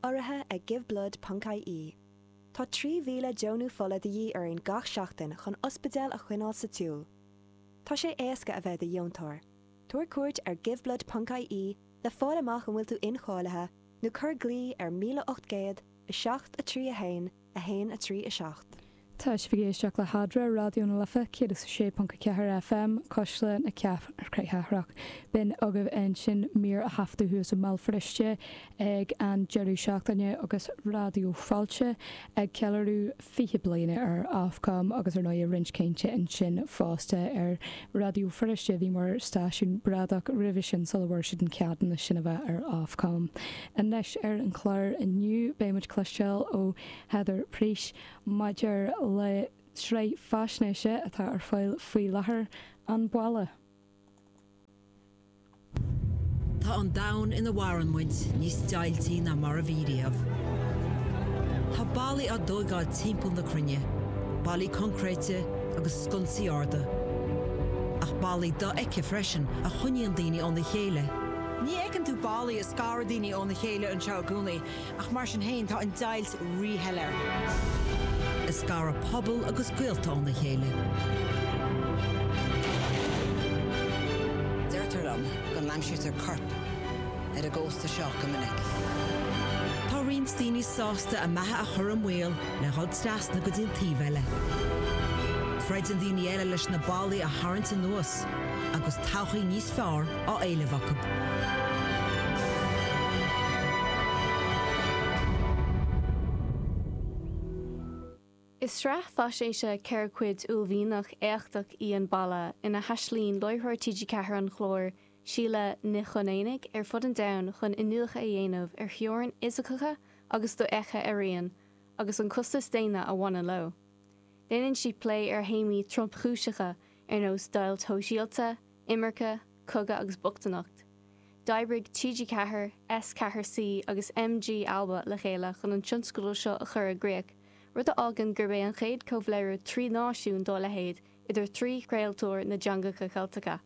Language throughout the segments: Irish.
Urraithe ag Giveblood ponc ie. Tá 3,000 deonú fola de dhíth orainn gach seachtain chun ospidéil a choinneáil sa tsiúl. Tá sé éasca a bheith i do dheontóir. Tabhair cuairt ar Giveblood ponc ie le fáil amach an bhfuil tú incháilithe nó cuir glao ar 1800 7 3 1 1 3 7. Tá sibh ag éisteacht le hAdhmhaidin, Raidió na Life 106.4 FM, Cuisle na Cathrach. B'in agaibh ansin mír a thaifeadadh thuas i mBéal Feirste ag an deireadh seachtaine agus Raidió Fáilte ag ceiliúradh 20 bliana ar Ofcom agus ar ndóigh roinnt cainte ansin fosta ar Raidió Feirste a bhí mar stáisiún bradach roimhe sin sula bhfuair siad an ceadúnas sin a bheith ar Ofcom. Anois ar an chlár inniu beidh muid cloisteáil ó Heather Preece maidir le sraith faisnéise atá ar fáil faoi láthair, An Balla. Tá an domhan ina mhaireann muid níos deighiltí ná mar a bhí riamh. Tá ballaí á dtóigeáil timpeall na cruinne, ballaí coincréite agus sconsaí arda. Ach ballaí dofheicthe freisin a choinníonn daoine óna chéile. Ní fheiceann tú ballaí ag scaradh daoine óna chéile anseo i gcónaí, Ach mar sin féin, tá an deighilt ríshoiléir. Ag scaradh pobal agus gaolta óna chéile. Deirtear liom go n-aimsítear coirp ar an gcósta seo go minic. Tá roinnt daoine sásta a mbeatha a chur i mbaol le dhul trasna go dtí an taobh eile. Troideann daoine eile leis na ballaí a tharraingt anuas agus todhchaí níos fearr á éileamh acu. Is sraith faisnéise 4 chuid uaillmhianach éachtach í An Balla ina dtaistealaíonn láithreoir TG4 an chláir, Síle Ní Chonaonaigh, ar fud an domhain chun iniúchadh a dhéanamh ar theorainn fhisiceacha agus dofheicthe araon agus an costas daonna a bhaineann leo. Déanann sí plé ar théamaí tromchúiseacha ar nós deighilt shóisialta, imirce, cogadh agus bochtaineacht. D'oibrigh TG4, S4C agus MG Alba le chéile chun an tionscadal seo a chur i gcrích, rud a fhágann gurb é an chéad chomhléiriú trí náisiún dá leithéid idir thrí chraoltóir na dteangacha Ceilteacha.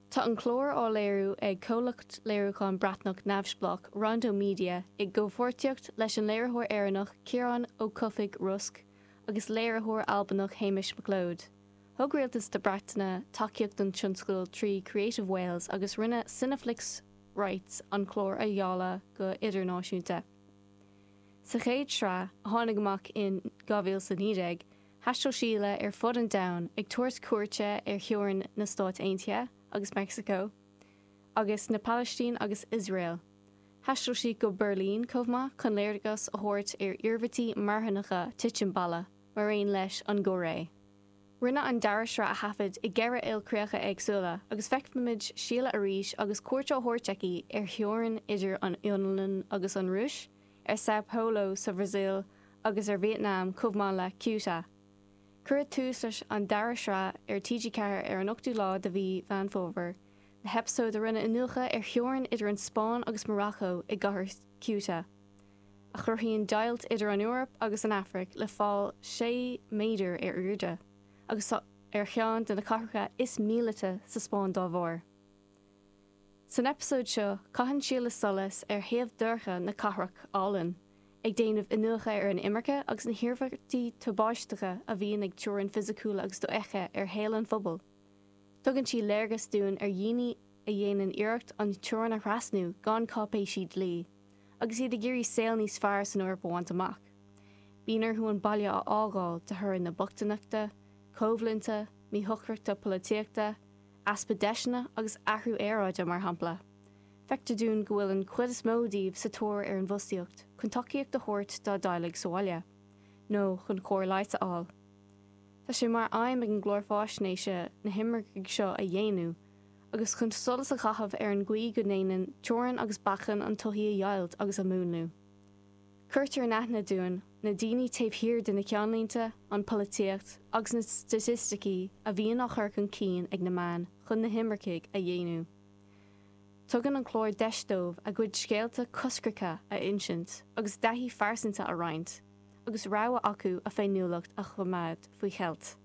Tá an clár á léiriú ag comhlacht léiriúcháin Breatnach neamhspleách Rondo Media i gcomhpháirtíocht leis an léiritheoir Éireannach Ciarán Ó Cofaigh Rosc agus léiritheoir Albanach Hamish MacLeod. Thug Rialtas na Breataine tacaíocht don tionscadal trí Creative Wales agus rinne Cineflix Rights an clár a dháileadh go hidirnáisiúnta. Sa chéad sraith, a tháinig amach in 2019, thaistil Síle ar fud an domhain, ag tabhairt cuairte ar theorainn na Stát Aontaithe agus Meicsiceo, agus na Palaistín agus Iosrael. Thaistil sí go Beirlín chomh maith chun léargas a thabhairt ar iarmhairtí marthanacha titim balla, mar aon leis an gCóiré. Rinneadh an dara sraith a thaifead i gceithre ilchríocha éagsúla agus feicfimid Síle arís agus cuairt á thabhairt aici ar theorainn idir an Fhionlainn agus an Rúis, ar Sao Paulo sa Bhrasaíl agus ar Vítneam chomh maith le Ceuta. Cuireadh tús leis an dara sraith ar TG4 ar an 8ú lá de mhí Mheán Fómhair le heipeasóid a rinne iniúchadh ar theorainn idir an Spáinn agus Maracó i gcathair Ceuta. a chruthaíonn deighilt idir an Eoraip agus an Afraic le fál 6 méadar ar airde, agus tá ar cheann de na cathracha is míleata sa Spáinn dá bharr. San eipeasóid seo, caitheann Síle solas ar thaobh dorcha na cathrach álainn, ag déanamh iniúchadh ar an imirce agus na hiarmhairtí tubaisteacha a bhíonn ag teorainn fisiciúla agus dofheicthe ar shaol an phobail. Tugann sí léargas dúinn ar dhaoine a dhéanann iarracht an teorainn a thrasnú gan cáipéisí dlí, agus iad ag iarraidh saol níos fearr san Eoraip a bhaint amach. Bíonn orthu an baile a fhágáil de thoradh na bochtaineachta, coimhlinte, míshocrachta polaitíochta, easpa deiseanna agus athrú aeráide, mar shampla. Feictear dúinn go bhfuil an chuid is mó díobh sa tóir ar an bhfostaíocht chun tacaíocht a thabhairt dá dteaghlaigh sa bhaile, nó chun cóir leighis a fháil. Tá sé mar aidhm ag an gclár faisnéise na himircigh seo a dhéanamh, agus chun solas a chaitheamh ar an gcaoi go ndéanann teorainn agus bacainn an tsochaí a dheighilt agus a mhúnlú. Cuirtear in aithne dúinn na daoine taobh thiar de na ceannlínte, an pholaitíocht agus na staitisticí a bhíonn á chur chun cinn ag na meáin chun na himircigh a dhéanamh. Tugann an clár deis dóibh a gcuid scéalta coscracha a insint agus a dtaithí phearsanta a roinnt, agus rogha acu a féiniúlacht a choimeád faoi cheilt.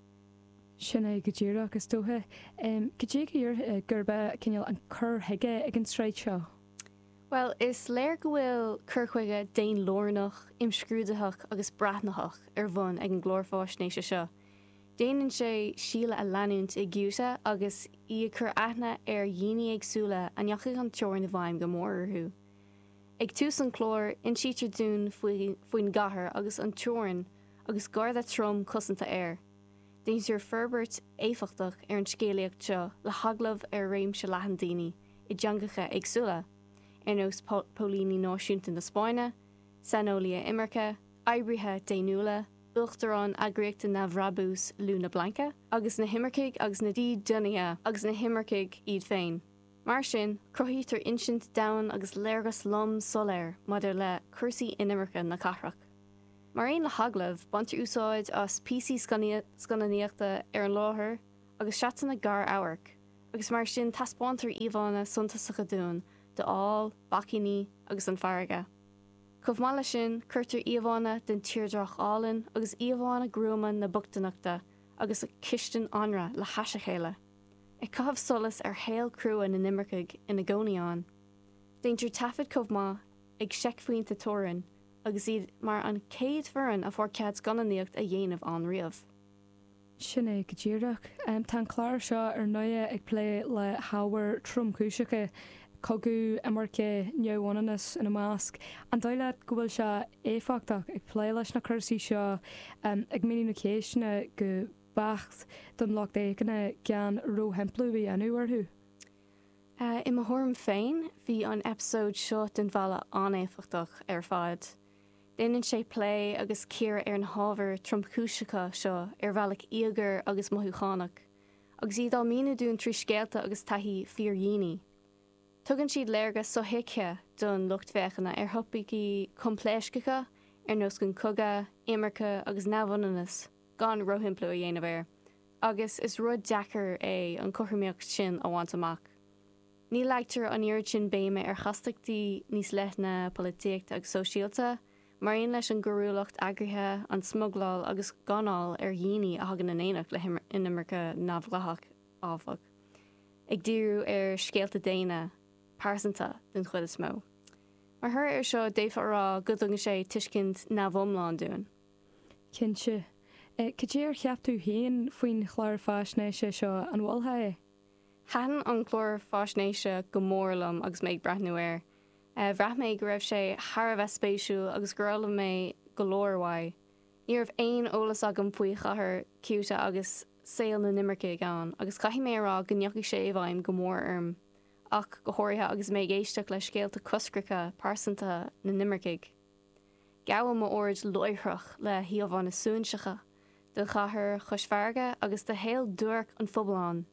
Sin é go díreach, is dócha. Cad é go díreach gurb é cineál an cur chuige ag an tsraith seo? Bhuel, is léir go bhfuil cur chuige daonlárnach, imscrúdaitheach agus breathnaitheach ar bun ag an gclár faisnéise seo. Déanann sé Síle a leanúint i gCeuta agus í ag cur aithne ar dhaoine éagsúla a ndeachaigh an teorainn i bhfeidhm go mór orthu. Ag tús an chláir, insítear dúinn faoin gcathair agus an teorainn agus garda trom cosanta air. Déantar forbairt éifeachtach ar an scéalaíocht seo le hagallaimh ar réimse leathan daoine i dteangacha éagsúla, ar nós póilíní náisiúnta na Spáinne, saineolaithe imirce, oibrithe daonnúla, uachtarán eagraíochta neamhbhrabúis Luna Blanca, agus na himircigh agus na dídeanaithe agus na himircigh iad féin. Mar sin, cruthaítear insint domhain agus léargas lom soiléir maidir le cúrsaí inimirce na cathrach. Mar aon le hagallaimh, baintear úsáid as píosaí scannánaíochta ar an láthair agus seatanna gar-amhairc, agus mar sin taispeántar íomhánna suntasacha dúinn d'fháil, bacainní agus an farraige. Chomh maith leis sin, cuirtear íomhánna den tírdhreach álainn agus íomhánna gruama na bochtaineachta agus cistine anraith le hais a chéile, ag caitheamh solais ar shaol crua na n-imirceach ina gcónaí ann. Déantar taifead chomh maith ag seicphointe teorann agus iad mar an chéad foireann a fuair cead scannánaíocht a dhéanamh ann riamh. Sin é go díreach. Tá an clár seo ar ndóigh ag plé le hábhair tromchúiseacha, cogadh, imirce, neamhionannas ina measc. An dóigh leat go bhfuil sé éifeachtach ag plé leis na cúrsaí seo, ag míniú na ceisteanna go beacht don lucht féachana gan róshimpliú a dhéanamh orthu? I mo thuairim féin, bhí an eipeasóid seo den Bhalla an-éifeachtach ar fad. Déanann sé plé agus cíoradh ar na hábhair tromchúiseacha seo ar bhealach íogair agus mothúchánach, agus iad á míniú dúinn trí scéalta agus taithí fíordhaoine. Tugann siad léargas sothuigthe don lucht féachana ar thopaicí coimpléascacha ar nós an cogadh, imirce agus neamhionannas gan róshimpliú a dhéanamh air. agus is rud deacair é an chothromaíocht sin a bhaint amach. Ní leagtar an oiread sin béime ar chastachtaí níos leithne polaitíochta agus sóisialta, mar aon leis an gcoiriúlacht eagraithe, an smugláil agus gáinneáil ar dhaoine a thagann in éineacht le hinimirce neamhdhleathach, áfach, ag díriú ar scéalta daonna, pearsanta den chuid is mó. Mar thoradh air seo, d'fhéadfá a rá go dtugann sé tuiscint neamhiomlán dúinn. Cinnte. Cad é ar cheap tú féin faoin chlár faisnéise seo? An mholfá é? Thaitin an clár faisnéise go mór liom agus mé ag breathnú air. Bhraith mé go raibh sé thar a bheith spéisiúil agus gur fhoghlaim mé go leor uaidh. Ní raibh aon eolas agam faoi chathair Ceuta agus saol na n-imircigh ann agus caithfidh mé a rá go ndeachaigh sé i bhfeidhm go mór orm, ach go háirithe agus mé ag éisteacht le scéalta coscracha pearsanta na n-imircigh. Gabhadh m'aird láithreach le híomhánna suaithinseacha den chathair chois farraige agus de shaol duairc an phobail ann.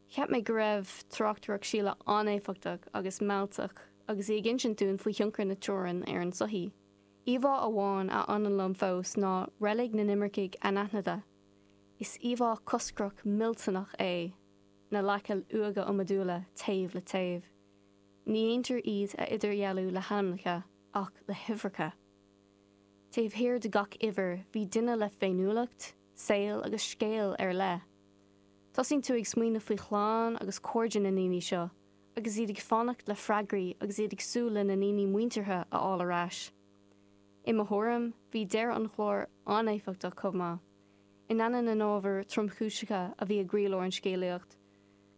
Cheap mé go raibh tráchtaireacht Síle an-éifeachtach agus mealltach agus í ag insint dúinn faoi thionchar na teorann ar an tsochaí. Íomhá amháin a fhanann liom fós ná reilig na n-imircigh anaithnide. Is íomhá coscrach millteanach é na leaca uaighe iomadúla taobh le taobh. Ní dhéantar iad a idirdhealú le hainmneacha ach le huimhreacha. Taobh thiar de gach uimhir bhí duine le féiniúlacht, saol agus scéal ar leith. Tosaíonn tú ag smaoineamh faoi chlann agus cairde na ndaoine seo agus iad ag fanacht le freagraí agus iad ag súil lena ndaoine muinteartha a fháil ar ais. I mo thuairim, bhí deireadh an chláir an-éifeachtach chomh maith. In ainneoin na n-ábhar tromchúiseacha a bhí i gcroílár an scéalaíocht,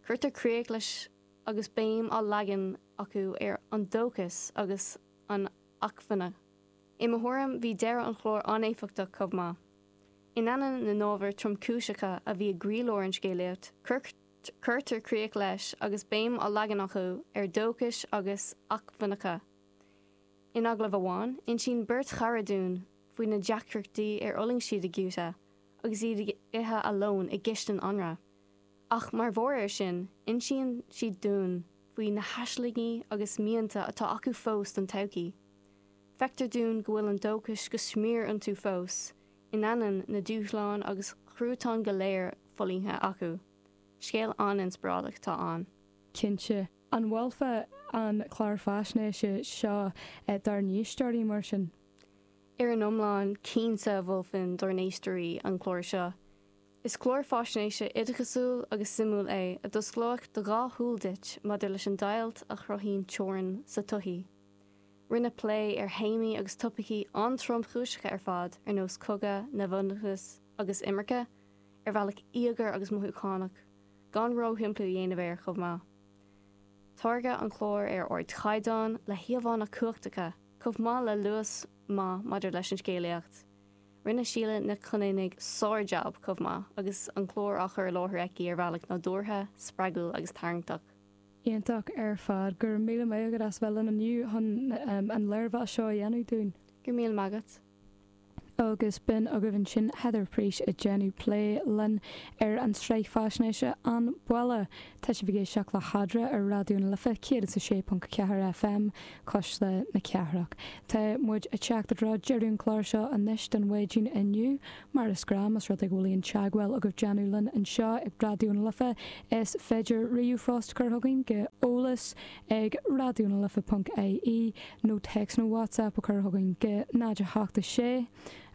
cuirtear críoch leis agus béim á leagan acu ar an dóchas agus an acmhainne. I mo thuairim, bhí deireadh an chláir an-éifeachtach chomh maith. In ainneoin na n-ábhar tromchúiseacha a bhí i gcroílár an scéalaíocht, cuirtear críoch leis agus béim á leagan acu ar dóchas agus acmhainneacha. In agallamh amháin, insíonn beirt chara dúinn faoi na deacrachtaí ar fhulaing siad i gCeuta agus iad ag ithe a lón i gcistin anraith. Ach mar bharr air sin, insíonn siad dúinn faoi na haislingí agus mianta atá acu fós don todhchaí. Feictear dúinn go bhfuil an dóchas go smior iontu fós, in ainneoin na dúshláin agus chruatáin go léir fulaingthe acu. Scéal an-inspioráideach atá ann. Cinnte. An mholfá an clár faisnéise seo dár n-éisteoirí, mar sin? Ar an iomlán, cinnte mholfainn dár n-éisteoirí an clár seo. Is clár faisnéise oideachasúil agus suimiúil é a d'osclóidh do dhá shúil duit maidir leis an deighilt a chruthaíonn teorainn sa tsochaí. Rinneadh plé ar théamaí agus topaicí an-tromchúiseacha ar fad ar nós cogadh, neamhionannas agus imirce, ar bhealach íogair agus mothúchánach, gan róshimpliú a dhéanamh air chomh maith. Táirgeadh an clár ar ardchaighdeán, le híomhánna cumhachtacha, chomh maith le luas maith maidir leis an scéalaíocht. Rinne Síle Nic Chonaonaigh sár-jab chomh maith agus an clár á chur i láthair aici ar bhealach nádúrtha, spreagúil agus tarraingteach. Iontach ar fad. Go raibh míle maith agat as bheith linn inniu chun an léirmheas seo a dhéanamh dúinn. Go raibh míle maith agat. Agus b'in agaibh ansin Heather Priest ag déanamh plé linn ar an tsraith faisnéise An Balla. Tá sibh ag éisteacht le hEadra ar Raidió na Life 106.4 FM, Cuisle na Cathrach. Tá muid ag teacht i dtreo deireadh an chláir seo anois don mhaidin inniu. Mar is gnáth, más rud é go bhfuil aon teagmháil agaibh déanamh linn anseo ag Raidió na Life, is féidir ríomhphost a chur chugainn go eolas ag raidionalife ponc ie nó téacs nó WhatsApp a chur chugainn go 0 8 6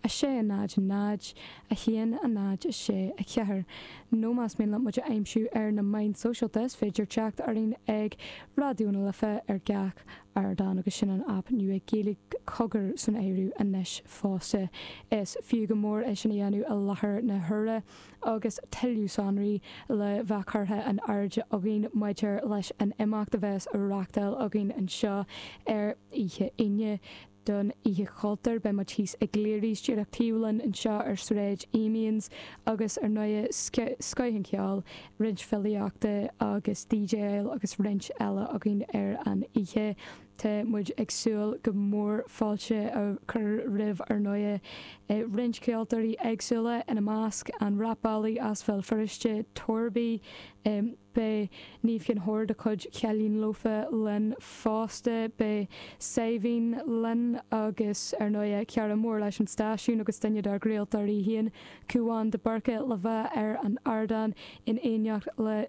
6 0 0 1 0 6 4. Nó más mian leat muid a aimsiú ar na meáin sóisialta is féidir teacht orainn ag Raidió na Life ar gach ardán agus sin an aip nua Gaeilge Cogar san áireamh anois fosta. Is fiú go mór é sin a dhéanamh i láthair na huaire agus tuilleadh sonraí le bheith curtha in airde againn maidir leis an imeacht a bheas á reachtáil againn anseo ar oíche Aoine. Don Oíche Chultúir, beidh muid thíos i gCleary's díreach taobh linn anseo ar Sráid Amiens agus ar ndóighe scoth an cheoil, roinnt filíochta agus DJáil agus roinnt eile againn ar an oíche. Tá muid ag súil go mór fáilte a chur roimh ar ndóighe roinnt ceoltóirí éagsúla, ina measc an rapálaí as Bhéal Feirste, Torby, Beidh Niamh Chinn Óir de chuid Chailíní Lofa linn fosta. Beidh Saidhbhín linn agus, ar ndóighe, cara mór leis an stáisiún agus duine dár gcraoltóirí féin, Cúán de Búrca, le bheith ar an ardán in éineacht le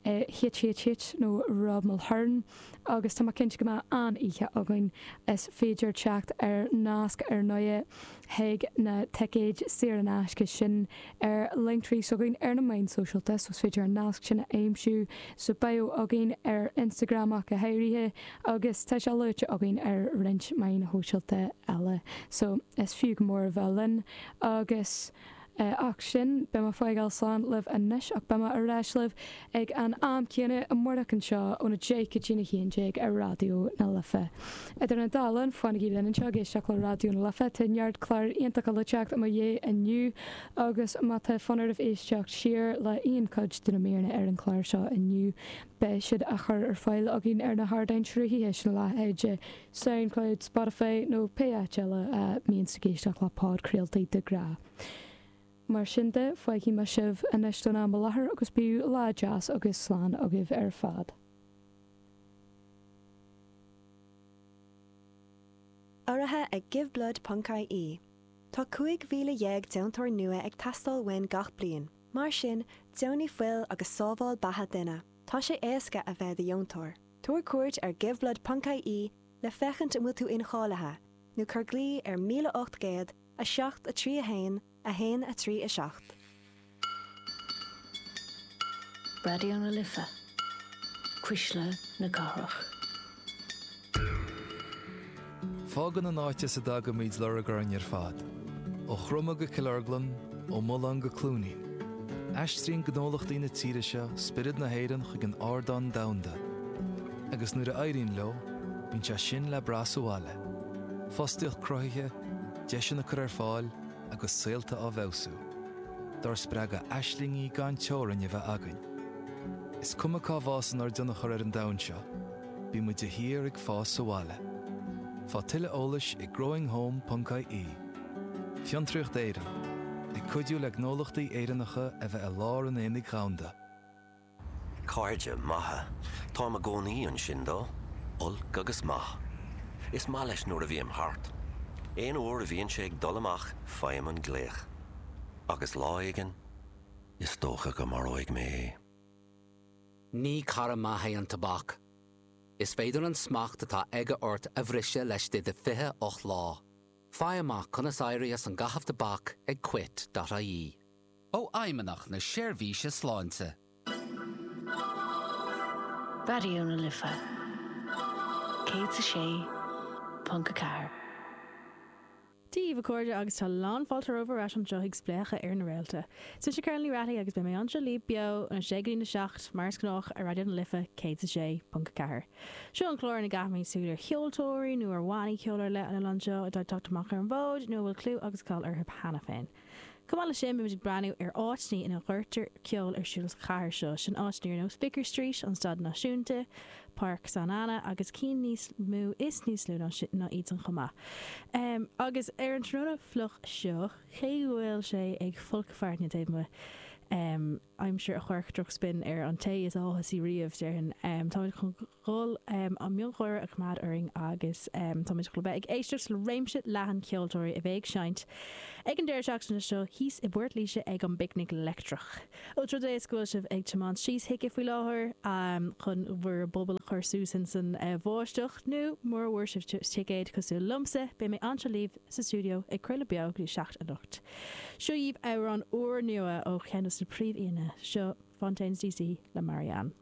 HHH nó Rob Mulhern agus tá mé cinnte go mbeidh an-oíche againn. Is féidir teacht ar nasc, ar ndóighe, chuig na ticéid saor in aisce sin ar Linktree s'againn ar na meáin sóisialta so is féidir an nasc sin a aimsiú sa bio againn ar Instagram ach go háirithe agus tá sé luaite againn ar roinnt meáin shóisialta eile so is fiú go mór a bheith linn agus Ach sin, beidh mé ag fágáil slán libh anois ach beidh mé ar ais libh ag an am céanna amárach anseo óna 10 go dtína 11 ar Raidió na Life. Idir an dá linn, fanaigí linn anseo ag éisteacht le Raidió na Life, tá neart clár iontacha le teacht i mo dhiaidh inniu agus má tá fonn oraibh éisteacht siar le aon chuid de na míreanna ar an chlár seo inniu, beidh siad á chur ar fáil againn ar na hardáin sruthaithe sin, a leithéid Soundcloud, Spotify nó pé áit eile a mbíonn tú ag éisteacht le podchraoltaí de ghnáth. Mar sin de, fágfaidh mé sibh anois don am i láthair agus bíodh lá deas agus slán agaibh ar fad. Urraithe ag Giveblood ponc ie. Tá 15,000 deontóir nua ag teastáil uainn gach bliain. Mar sin, deonaigh fuil agus sábháil beatha duine. Tá sé éasca a bheith i do dheontóir. Tabhair cuairt ar giveblood ponc ie le féachaint an bhfuil tú incháilithe, nó cuir glao ar 1800 7 3 1 1 3 7. Raidió na Life, Cuisle na Cathrach. Fágann an áit as a dtagaimid lorg orainn ar fad, ó Chromtha go Cill Orglan, ó Mullán go Cluainín. Aistríonn gnólachtaí na tíre seo spiorad na hÉireann chuig an ardán domhanda. Agus nuair a éiríonn leo, bíonn sé sin le brath sa bhaile. Fostaíocht cruthaithe, deiseanna curtha ar fáil agus saolta á bhfeabhsú. Dár spreagadh aislingí gan teorainn a bheith againn. Is cuma cá bhfásann ár dtionchar ar an domhan seo, bíonn muid de shíor ag fás sa bhaile. Faigh tuilleadh eolais ag growinghome.ie. Fiontraíocht Éireann, ag cuidiú le gnólachtaí Éireannacha a bheith i lár an aonaigh dhomhanda. Cairde maithe. Táim i gcónaí ansin dó, olc agus maith. Is maith leis nuair a bhím thart. Aon uair a bhíonn sé ag dul amach faighim an glaoch. Agus lá éigin, is dócha go maróidh mé é. Ní cara maith é an tobac. Is féidir an smacht atá aige ort a bhriseadh laistigh de 28 lá. Faigh amach conas éirí as an gcaitheamh tobac ag quit.ie. ó Fheidhmeannacht na Seirbhíse Sláinte. Raidió na Life 106.4. Dia daoibh a chairde agus tá lán fáilte romhaibh ar ais anseo chuig Spléachadh ar na Réalta. Is mise Carolyn Ní Raghallaigh agus beidh mé anseo libh beo óna 6 go dtí na 7 mar is gnách ar Raidió na Life 106.4. Seo an clár ina gcaithimid súil ar cheoltóirí nó ar bhannaí ceoil ar leith an oileán seo atá ag teacht amach ar an bhfód nó a bhfuil clú agus cáil orthu cheana féin. Chomh maith leis sin, beimid ag breathnú ar áiteanna ina gcuirtear ceol ar siúl sa chathair seo, sin áiteanna ar nós Vicar Street, an Staid Náisiúnta, Páirc San Anna agus cinn níos mó is níos lú ná ná iadsan chomh maith. Agus ar an tráthnóna fliuch seo, cé go bhfuil sé ag folcadh fearthainne taobh amuigh, aimsir a chuirfeadh drochspin ar an té is áthasaí riamh, déarfainn, táimid chun dhul an miongháire a choimeád orainn agus táimid chun a bheith ag éisteacht le réimse leathan ceoltóirí a bheidh ag seinnt ag an deireadh seachtaine seo thíos i bPort Laoise ag an bPicnic Leictreach. Ós rud é is go bhfuil sibh ag tiomáint síos chuici faoi láthair chun bhur bpuball a chur suas ins an bháisteach nó mura bhfuair sibh ticéad cosúil liomsa, beidh mé anseo libh sa stiúideo ag craoladh beo go dtí 7 anocht. Seo dhaoibh amhrán úrnua ó cheann dos na príomh-aíonna, seo Fontaines DC le Marianne.